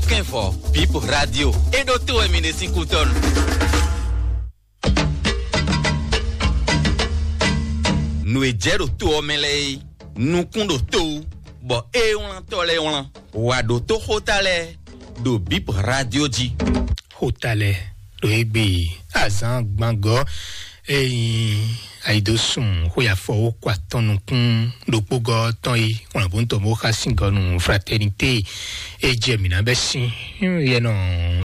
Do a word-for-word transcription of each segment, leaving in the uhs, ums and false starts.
Kɛnvɔ, Bip Radio. E ɖo to wɛ mi ɖe sín kútɔnu. Nǔ e jɛ ɖo to ɔ́ mɛ lɛ́ɛ é, nukún ɖo to wú, bɔ é wlán tɔ́ lɛ́ɛ wlán. Wǎ ɖo tó xóta lɛ́ɛ ɖo Bip Radio jí. Xóta lɛ́ɛ ɖo égbé azǎn gbangɔ, eyin ayidosun xwe afɔ wó kɔ atɔn nukún ɖokpógɔ tɔn yi wlǎnbóntɔn bó xa sín gɔ nú Fraternité. E jɛ mǐ ná bɛ́ sín yɛnɔ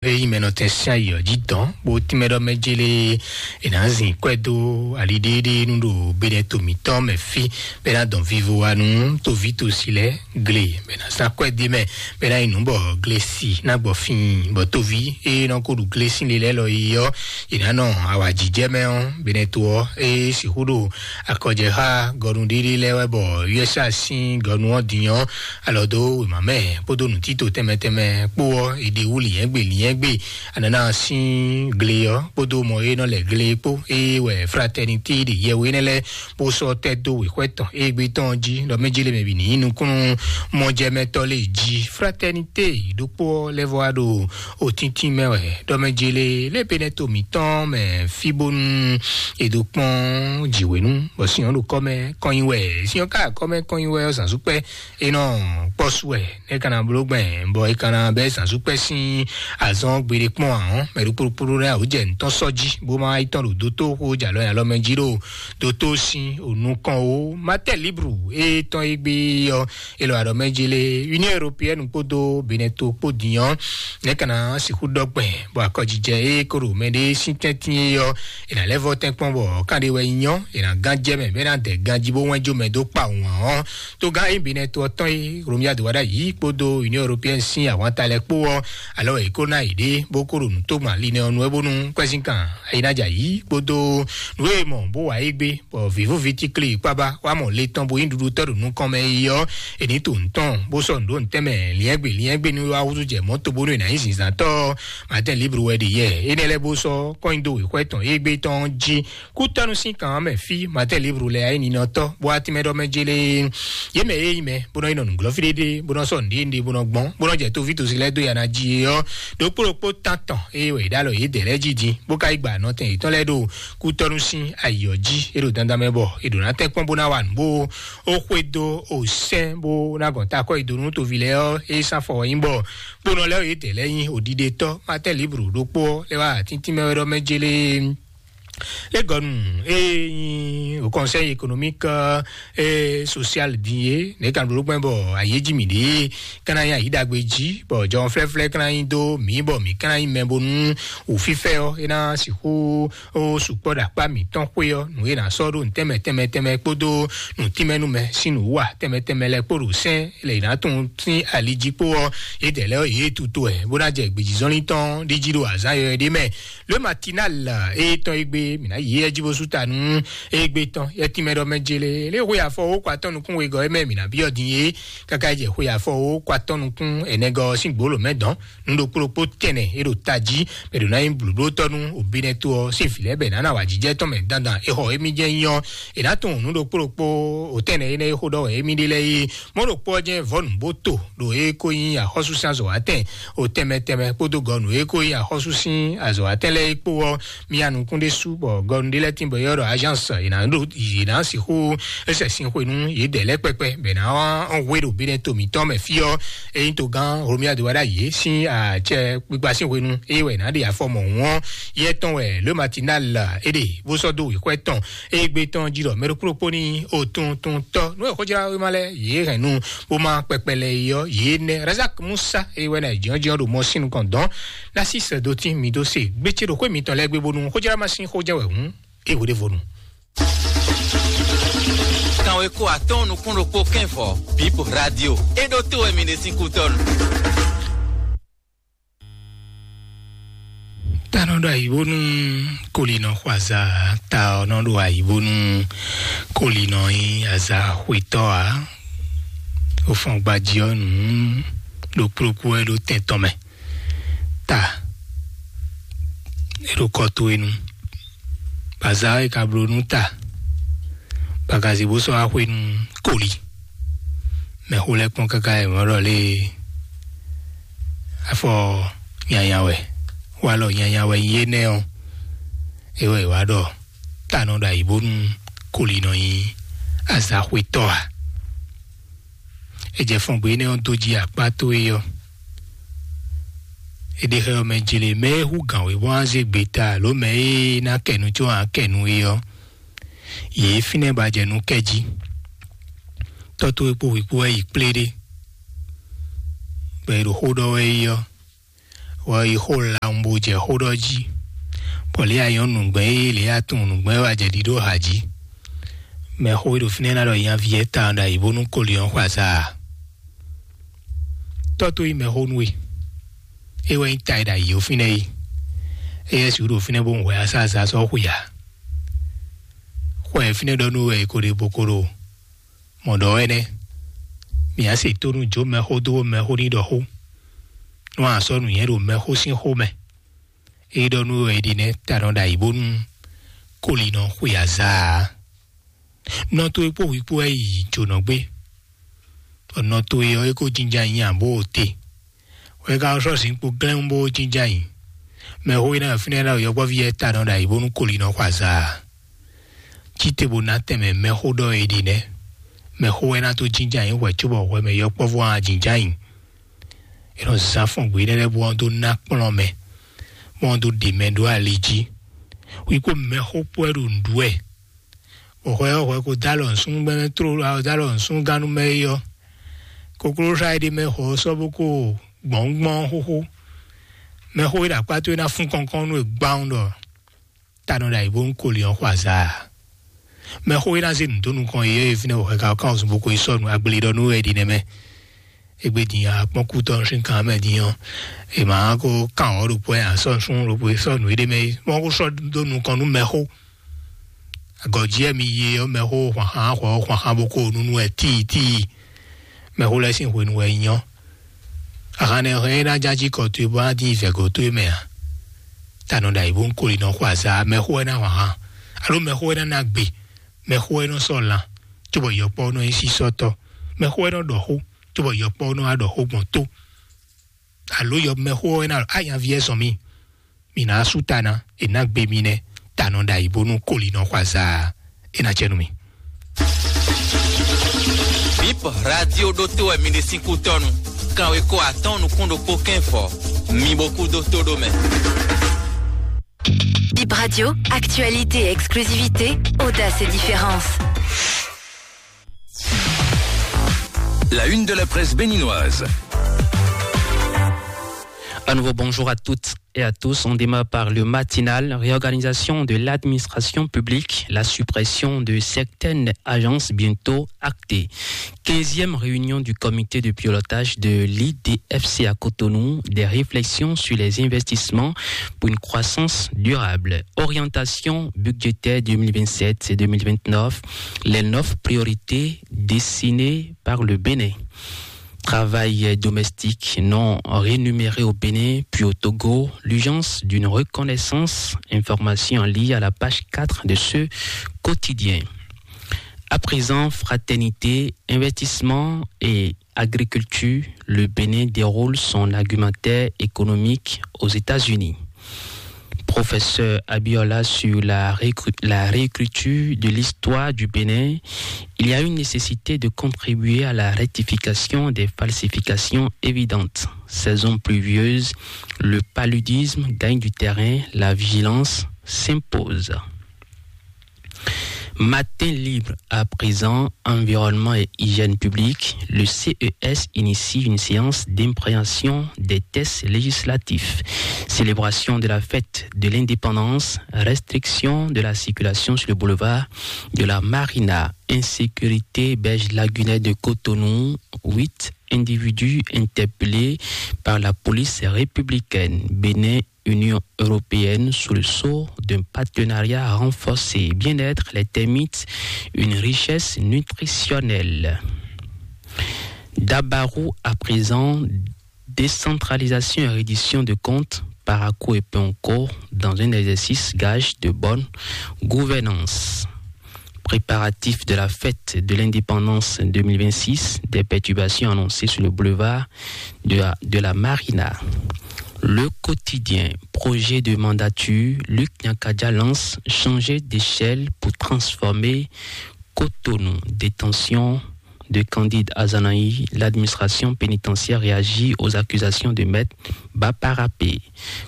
eyin mɛnɔtɛn sín ayǐ ɔ́ jí dɔn bó tínmɛ ɖɔ mɛ jélé è nǎ zin kwɛ́ dó ali ɖéɖé nú ɖo Benɛto mǐtɔn mɛ fí bɛ́ ná dɔn vivo wa nú toví tosi lɛ́ɛ gle bɛ ná zán kwɛ́ dé mɛ bɛ ná yi nǔ bɔ glesi ná gbɔ fíin bɔ tóví e nɔ ko ɖu glesi lé lɛ́ɛ lɔ yi ɔ́, è nǎ nɔ awǎjijɛ mɛ ɔ́, Benɛto ɔ́ e sixú ɖo akɔjɛ xá gɔnu ɖéɖé lɛ́ɛ wɛ bɔ U S A sín gɔnu ɔ́ din ɔ́, alɔ dó wěma mɛ kpódó nǔtítò tɛnmɛ tɛnmɛ kpó ɔ́, è ɖe wú lǐnyɛ́gbe lǐnyɛ́gbe anana sín gle ɔ́ kpódó mɔ e nɔ lɛ gle kpó e wɛ Fraternité ɖe yɛwé nɛ́ lɛ́ɛ bó sɔ́ tɛ́ dó wěxwɛ́ tɔn égbé tɔn jí ɖɔ mɛ jélé mɛ bǐ ní nyí nukúnnú mɔjɛmɛtɔ́ lé jí. Fraternité ɖokpó ɔ́ lɛ́ vɔ wá ɖo òtíntín mɛ wɛ ɖɔ mɛ jélé lé Benɛto mǐtɔn mɛ fí bónú è dó kpɔ́n jǐwěnú bɔ sin ɔ́ ɖo kɔ́ mɛ kɔnyi wɛ, sin ɔ́ ka kɔ́ mɛ kɔnyi wɛ ɔ́ zǎnzúkpɛ́ è nɔ kpɔ́ su wɛ. É ka ná bló gbɛn bɔ é ka ná bɛ́ zǎnzúkpɛ́ sín azɔn gbeɖé kpɔ́n ǎ ɔ́, mɛ ɖokpóɖokpó lɛ́ɛ wǒ jɛ nǔtɔn sɔ́ jí bó má yi tɔn ɖo dótó xó jalɔ nyi alɔ mɛ jí ɖo dótó sín onú kɔn ó. Matɛ Libru e tɔn e gbé ɔ́, é lɔ aɖɔ mɛ jí lé Union Européenne kpódó Benɛto kpó din ɔ́, nɛ̌ ka ná sixú ɖɔ gbɛn bɔ akɔjijɛ e kó ɖo mɛɖé sín tɛ́ntin é ɔ́, è nǎ lɛ́ vɔ tɛ́nkpɔ́n bɔ kánɖé wɛ nyí ɔ́, è nǎ gán jɛ mɛ bɔ é ná dɛ ganjí bó wɛ́n jó mɛ dó kpa wǎn ɔ́. Togán e Benɛto ɔ́ tɔn e Romia de wá ɖ'ayǐ kpódó Union Européenne sín ahwanta lɛ́ɛ kpó ɔ́, alɔ è kó ná yě ɖe bó kó ɖo nǔ tógbán linɛ ɔ́ nu wɛ bónú kwɛ́zínkan ayinájà yí kpódó nǔ e mɔ bó wa é gbé bɔ vǐvúvǐ tíklí kpábá wá mɔ le tɔn bo nyí ɖuɖutɔ́ ɖo nukɔn mɛ yi ɔ́, è ní to nǔ tɔn bó sɔ́ nǔ ɖó nǔtɛ́ mɛ liɛ́ngbè liɛ́ngbè nú wá húzú jɛ mɔ̌ to bónú è nǎ nyí zǐnzǎntɔ́ ɔ́. Matɛ́n Libru wɛ ɖi yɛ énɛ́ lɛ́ɛ bó sɔ́ kɔ́nnyidó wěxwɛ́ tɔn égbé tɔn jí kútɔ́nú sín kan ɔ́ mɛ fí Matɛ́n Libru lɛ́ɛ ayé ninɔtɔ́ bó wá tínmɛ ɖɔ mɛ jélé. Yě mɛ e nyí mɛ bó nɔ yi nɔ nǔglɔ́ fí ɖéɖé bó nɔ sɔ́ nǔɖé nǔɖé bó nɔ gbɔn bó nɔ jɛ tóví tosi lɛ́ɛ dó ya ná jí é ɔ́, ɖokpó ɖokpó tán tɔn eye wɛ è ɖó alɔ yědɛɛ lɛ́ɛ jí din bó ka yi gba nɔtɛn yětɔn lɛ́ɛ ɖo kútɔ́nú sín ayǐ ɔ́ jí é ɖo dandan mɛ bɔ è ɖǒ ná tɛ́nkpɔ́n bó ná wa nǔ bó ó xwedó ó sɛ́n bó ná gɔn ta akɔ́ yi dó nú toví lɛ́ɛ ɔ́ é sán fɔ wɛ nyí bɔ kponɔ lɛ́ɛ yědɛɛ lɛ́ɛ nyí òɖiɖetɔ́ Matɛ́n Libru ɖokpó ɔ́ lɛ́ wá atíntín mɛ wɛ ɖɔ mɛ jélé. Lé gɔnu e nyi o conseil économique et social din é nɛ kan ɖo gbɛn bɔ ayé jí mi ɖe kana nyi ayi ɖagbe jí bɔ jɔn flɛflɛ kana nyi do mi bɔ mi kana nyi mɛ bonu wò fifɛ ɔ e na sixu o sukpɔ ɖo akpa mitɔn xwe ɔ nu e na sɔ ɖo ntɛmɛ tɛmɛ tɛmɛ kpódó nutínmɛnu mɛ sín nǔwa tɛmɛ tɛmɛ lɛ kpó ɖo sɛn lɛ yi na tún sín ali jí kpó ɔ yedɛ lɛ ɔ yě tutu ɛ bó ná jɛ gbèjìzɔnlin tɔn ɖíjí ɖo azán yɔyɔ ɖé mɛ. Le Matinal e tɔn egbe mina yi e jí bó sú ta nú egbe tɔn yɛ tínmɛ ɖɔ mɛ jele le xwe afɔ wo kɔ atɔn nukún wegɔ e mɛ mina biɔ din ye kaka jɛ xwe afɔ wo kɔ atɔn nukún enɛgɔ sín gbolo mɛ dɔn nu ɖokpó ɖokpó tɛnɛ e ɖo tají mɛ ɖo ná nyí blǔblótɔ́ nú obinɛto ɔ sín vǐ lɛ́ɛ bɛ nǎ ná wa jijɛ tɔn mɛ dandan e xɔ emi jɛ nyɔ e ná tún nu ɖokpó ɖokpó o tɛnɛ e nɛ e xo ɖɔ wɛ emi ɖe lɛ́ɛ yi mɔ ɖokpó ɔ jɛ vɔnu bó to ɖo e ko nyí axɔ́súsɛn azɔ̌watɛn o tɛnmɛ tɛnmɛ kpódó gɔnu e ko nyí axɔ́súsɛn azɔ̌watɛn lɛ́ɛ kpó ɔ mía nukún ɖé sú bɔ gɔnu ɖé lɛ́ɛ tín bɔ yɔ́ ɖɔ agence yě ná ɖo yě ná sixú éṣɛ sín xwe nú yě dɛ lɛ́ kpɛkpɛ bɛ ná hwe ɖo bínɛ to mǐtɔn mɛ fí ɔ eyín to gán romia de wá ɖá yě sín àcɛ gbígbá sín xwe nú eye wɛ ná ɖe afɔ mɔ hùn ɔ yɛ tɔn wɛ le matinal é ɖe bó sɔ́ dó wěxwɛ tɔn eye gbé tɔn jí ɖɔ mɛɖokplɔ́kpó ní òtúntúntɔ nú ẹ̀ xɔjá wéma lɛ yě hɛn nú bó má kpɛkpɛ lɛ yɔ yě nɛ razak musa eye wɛ ná jɔnjɔn ɖo mɔ sín nukɔn dɔn ná sí sɛ dó tín mi dó se gbé ce ɖo xwé mitɔn lɛ gbé bónú xɔjá má sín xɔjá wɛ hùn é wǒ ɖé vonu. Kanwe kó atɔ́n nukún ɖokpó kɛ́nvɔ Bip Radio é ɖó tó wɛ mi ɖe sín kútɔ́nu. Ta nɔ ɖo ayǐbónú kolinɔ xɔ azǎ ta ɔ́ nɔ ɖo ayǐbónú kolinɔ nyí azǎ xwetɔ́ ǎ. Ó fɔn gbají ɔ́ nǔ ɖokplókú wɛ ɖó tɛn tɔn mɛ. Ta é ɖo kɔ towe nu. Baza e ka bló nú ta bakazi bó sɔ́ axwe nú koli. Mɛ xo lɛ́ kpɔ́n káká ɛ mɔ̌ ɖɔ lée. Afɔ nyanya wɛ, walɔ nyanya wɛ nyí énɛ́ ɔ́, é wɛ è wá ɖɔ ta nɔ ɖo ayǐ bónú koli nɔ nyí azaxwetɔ́ ǎ. È jɛ fɔn gbe énɛ́ ɔ́ dó jí akpá towe ɔ́. È ɖe xɛ ɔ́ mɛ jlé mɛ e hú gǎn wěbɔ́ ná zé gbe ta alo mɛ e ná kɛ nu có ǎ kɛ nu é ɔ́, yě fínɛ́ ba jɛ nú kɛ jí. Tɔ́ towe kpó hwǐ kpó wɛ yi kplé ɖé, bɔ è ɖo xó ɖɔ wɛ é ɔ́, wɔ yi xó lawun bó jɛ xó ɖɔ jí, bɔ lě a nyɔ́ nǔgbɛ́ é lě a tunwun nǔgbɛ́ wɛ a jɛ ɖiɖó ha jí. Mɛxó e ɖo fínɛ́ ná ɖɔ nyaví ɛ tawun ɖo ayǐ bónú koli ɔ́ xɔ azǎ ǎ. Tɔ́ tó nyí mɛxó nú we, é wɛ nyí ta e ɖo ayǐ ó fínɛ́ é. Éyɛ́ sixú ɖo fínɛ́ bó hwɛ asáazá sɔ́ xwe ǎ. Xɔ ɛ fínɛ́ ɖɔ nú we wɛ è ko ɖe bo ko ɖo mɔ̌ ɖɔ wɛ nɛ́. Mǐ á se tónú jó mɛxó dó mɛxó ní ɖɔ xó. Nú a sɔ́ nǔnywɛ́ ɖo mɛxó sín xó mɛ, é ɖɔ nú we wɛ è ɖi nɛ́ ta nɔ ɖo ayǐ bónú koli nɔ xwe azǎ ǎ. Nɔ towe kpó hwi kpó wɛ yi jǒnɔ gbé, bɔ nɔ towe ɔ́ é ko jínjɔ́n ayǐ ǎ bó o te. Hwɛ ka sɔ́ zinkpo glɛ́n bó jínjɔ́n ayǐ. Mɛxó e ná ɖo fínɛ́ ná ɖo yɔkpɔ́ví lɛ́ɛ ta nɔ ɖo ayǐ bónú koli nɔ xɔ azǎ ǎ. Cí te bó ná tɛnmɛ mɛxó ɖɔ è ɖe nɛ́. Mɛxó wɛ ná dó jínjɔ́n ayǐ hwɛ̌ cóbɔ hwɛ mɛ yɔkpɔ́vú ɔ́ ná jínjɔ́n ayǐ. È nɔ zán fɔn gbě énɛ́ lɛ́ɛ bó ɔ́ dó ná kplɔ́n mɛ, bó ɔ́ dó ɖe mɛ ɖó ali jí. Hwi kpó mɛxó kpó wɛ ɖo nǔɖuɖu wɛ. Bɔ hwɛ ɔ́, hwɛ ko dó alɔ nǔsúnnú gbɛmɛ tló, dó alɔ nǔsúnnú gannú mɛ é ɔ́, koklósá e ɖ'é mɛ xɔ ɔ́ sɔ́ bó ko gbɔ̌ngbɔ́n xóxó. Mɛxó e ɖo akpá towe ná fún kɔnkɔ́n nú we gbawun ɖɔ ta nɔ ɖo ayǐ bónú koli ɔ́ xɔ azǎ ǎ. Mɛxó e ná zé nǔ dó nukɔn yě e fínɛ́ bɔ hwɛ ka ɔ́ kán wǔzun bó ko yi sɔ́ nǔ agbléɖɔ nú we ɖi nɛ́ mɛ. Égbé din a kpɔ́n kú tɔn sín kan mɛ din ɔ́, è ma ko kán ɔ́ ɖokpó ɛ a sɔ́ nǔsúnnú ɖokpó e sɔ́ nǔ éɖé mɛ é. Mɔ ko sɔ́ dó nukɔn nú mɛxó. Agɔ̌jí wɛ mi yi ɔ́, mɛxó hwanxán xɔ ɔ́ hwanxán bó ko nú nú wɛ tíitíi. Mɛxó lɛ́ɛ sín hwenu wɛ nyí ɔ́. Ahan nɛ hɛn é ná ján jí kɔ towe bó ná dín vɛ̌go towe mɛ ǎ. Ta nɔ ɖo ayǐ bó ń koli nɔ xo azǎ, mɛxó wɛ ná hwanxán, alo mɛxó wɛ ná ná gbe, mɛxó wɛ nɔ sɔ́ lan, cóbɔ yɔkpɔ́ nɔ nyí sísɔ́tɔ́, mɛxó wɛ nɔ ɖɔ xó, cóbɔ yɔkpɔ́ nɔ wá ɖɔ xó gbɔn tó, alo yɔ mɛxó wɛ ná ɖɔ ányaví ɛ zɔn mì. Mǐ ná sú ta ná, è nǎ gbe mi nɛ́, ta nɔ ɖo ayǐ bónú koli nɔ xɔ azǎ, é ná jɛ nú mì. Bip radio ɖótó wɛ mi ɖe sín kútɔ́nu. Kanweko atɔ́ɔ́n nukún ɖokpó kɛ́n fɔ. Mi bo kú dó tó ɖó mɛ. Bip Radio, actualité, exclusivité, audace et différence. La une de la presse béninoise. Un nouveau bonjour à toutes et à tous. On démarre par le matinal. Réorganisation de l'administration publique, la suppression de certaines agences bientôt actée. Quinzième réunion du comité de pilotage de l'I D F C à Cotonou, des réflexions sur les investissements pour une croissance durable. Orientation budgétaire deux mille vingt-sept et deux mille vingt-neuf, les neuf priorités dessinées par le Bénin. Travail domestique non rémunéré au Bénin puis au Togo, l'urgence d'une reconnaissance, information en ligne à la page quatre de ce quotidien. À présent, fraternité, investissement et agriculture, le Bénin déroule son argumentaire économique aux États-Unis. Professeur Abiola sur la, réécri- la réécriture de l'histoire du Bénin, il y a une nécessité de contribuer à la rectification des falsifications évidentes. Saison pluvieuse, le paludisme gagne du terrain, la vigilance s'impose. Matin libre à présent, environnement et hygiène publique, le C E S initie une séance d'impréhension des tests législatifs. Célébration de la fête de l'indépendance, restriction de la circulation sur le boulevard de la Marina, insécurité, berge lagunaire de Cotonou, huit individus interpellés par la police républicaine. Bénin, Union européenne sous le sceau d'un partenariat renforcé. Bien-être, les termites, une richesse nutritionnelle. Dabarou à présent, décentralisation et reddition de comptes, Parakou et Ponko dans un exercice gage de bonne gouvernance. Préparatifs de la fête de l'indépendance deux mille vingt-six, des perturbations annoncées sur le boulevard de la, de la Marina. Le quotidien, projet de mandature, Luc Nyakadja lance changer d'échelle pour transformer Cotonou. Détention de Candide Azanaï, l'administration pénitentiaire réagit aux accusations de maître Baparapé.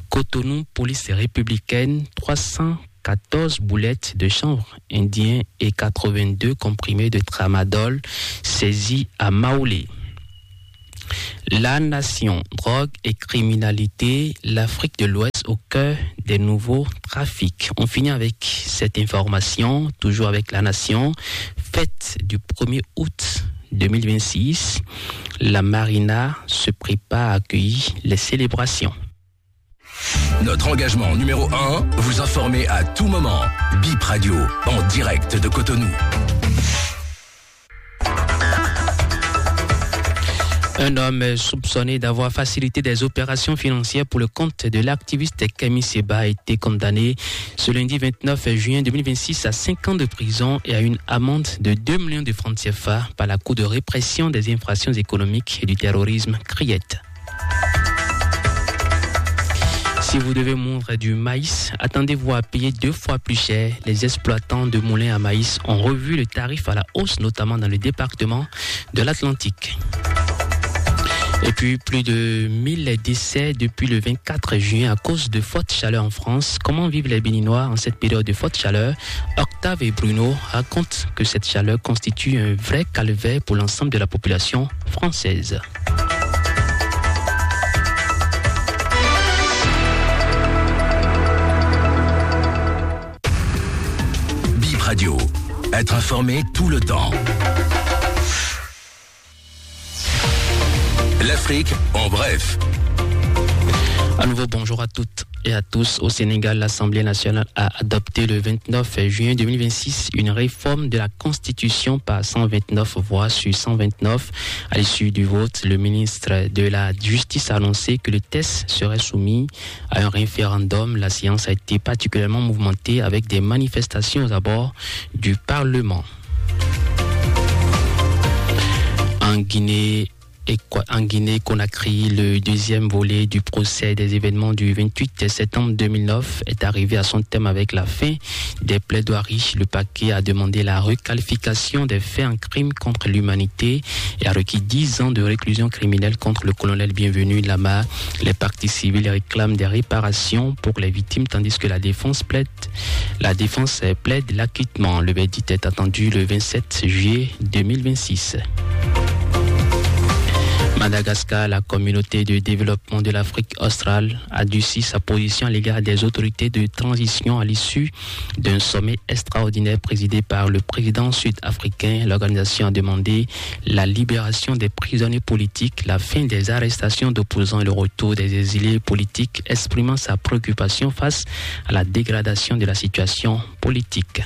Cotonou, police républicaine, trois cent quatorze boulettes de chanvre indien et quatre-vingt-deux comprimés de tramadol saisis à Maolé. La nation, drogue et criminalité, l'Afrique de l'Ouest au cœur des nouveaux trafics. On finit avec cette information, toujours avec la nation. Fête du premier août deux mille vingt-six, la Marina se prépare à accueillir les célébrations. Notre engagement numéro un, vous informer à tout moment. Bip Radio, en direct de Cotonou. Un homme soupçonné d'avoir facilité des opérations financières pour le compte de l'activiste Kemi Seba a été condamné ce lundi vingt-neuf juin deux mille vingt-six à cinq ans de prison et à une amende de deux millions de francs C F A par la Cour de répression des infractions économiques et du terrorisme, criette. Si vous devez moudre du maïs, attendez-vous à payer deux fois plus cher. Les exploitants de moulins à maïs ont revu le tarif à la hausse, notamment dans le département de l'Atlantique. Et puis, plus de mille décès depuis le vingt-quatre juin à cause de forte chaleur en France. Comment vivent les Béninois en cette période de forte chaleur ? Octave et Bruno racontent que cette chaleur constitue un vrai calvaire pour l'ensemble de la population française. Bip Radio, être informé tout le temps. L'Afrique en bref. À nouveau, bonjour à toutes et à tous. Au Sénégal, l'Assemblée nationale a adopté le vingt-neuf juin deux mille vingt-six une réforme de la Constitution par cent vingt-neuf voix sur cent vingt-neuf. À l'issue du vote, le ministre de la Justice a annoncé que le texte serait soumis à un référendum. La séance a été particulièrement mouvementée avec des manifestations aux abords du Parlement. En Guinée, et quoi, en Guinée-Conakry, le deuxième volet du procès des événements du vingt-huit septembre deux mille neuf est arrivé à son terme avec la fin des plaidoiries. Le parquet a demandé la requalification des faits en crime contre l'humanité et a requis dix ans de réclusion criminelle contre le colonel Bienvenu Lama. Les parties civiles réclament des réparations pour les victimes, tandis que la défense plaide, la défense plaide l'acquittement. Le verdict est attendu le vingt-sept juillet deux mille vingt-six. Madagascar, la communauté de développement de l'Afrique australe a durci sa position à l'égard des autorités de transition à l'issue d'un sommet extraordinaire présidé par le président sud-africain. L'organisation a demandé la libération des prisonniers politiques, la fin des arrestations d'opposants et le retour des exilés politiques, exprimant sa préoccupation face à la dégradation de la situation politique.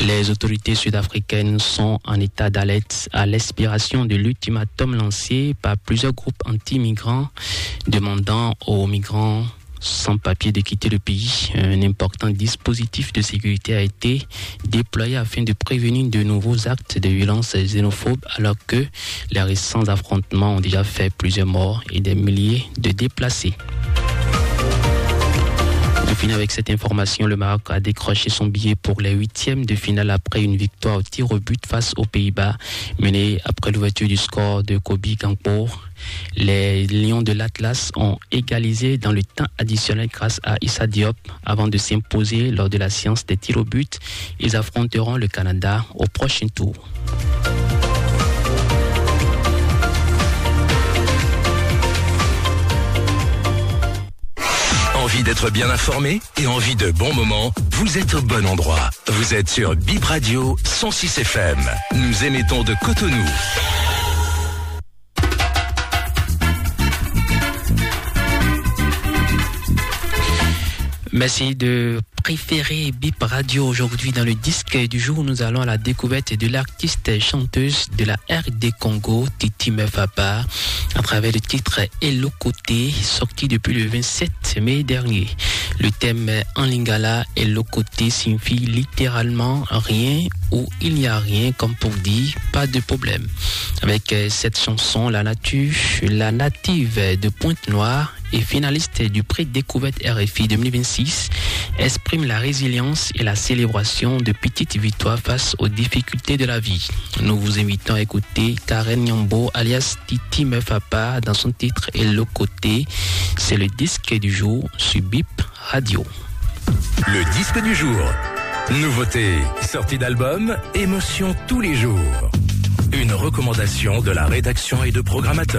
Les autorités sud-africaines sont en état d'alerte à l'expiration de l'ultimatum lancé par plusieurs groupes anti-migrants demandant aux migrants sans papier de quitter le pays. Un important dispositif de sécurité a été déployé afin de prévenir de nouveaux actes de violence xénophobe, alors que les récents affrontements ont déjà fait plusieurs morts et des milliers de déplacés. On finit avec cette information. Le Maroc a décroché son billet pour les huitièmes de finale après une victoire au tir au but face aux Pays-Bas, menée après l'ouverture du score de Kobe Gakpo. Les Lions de l'Atlas ont égalisé dans le temps additionnel grâce à Issa Diop avant de s'imposer lors de la séance des tirs au but. Ils affronteront le Canada au prochain tour. Envie d'être bien informé et envie de bons moments ? Vous êtes au bon endroit. Vous êtes sur Bip Radio cent six F M. Nous émettons de Cotonou. Merci de préféré Bip Radio. Aujourd'hui, dans le disque du jour, nous allons à la découverte de l'artiste chanteuse de la R D Congo, Titi Mefapa, à travers le titre Elokote, sorti depuis le vingt-sept mai dernier. Le thème en lingala, Elokote, signifie littéralement rien ou il n'y a rien, comme pour dire pas de problème. Avec euh, cette chanson, la nature, la native de Pointe-Noire et finaliste du prix Découverte R F I deux mille vingt-six, exprime la résilience et la célébration de petites victoires face aux difficultés de la vie. Nous vous invitons à écouter Karen Nyambo, alias Titi Mefapa, dans son titre Elokote. C'est le disque du jour sur Bip Radio. Le disque du jour. Nouveauté, sortie d'album, émotion tous les jours. Une recommandation de la rédaction et de programmateurs.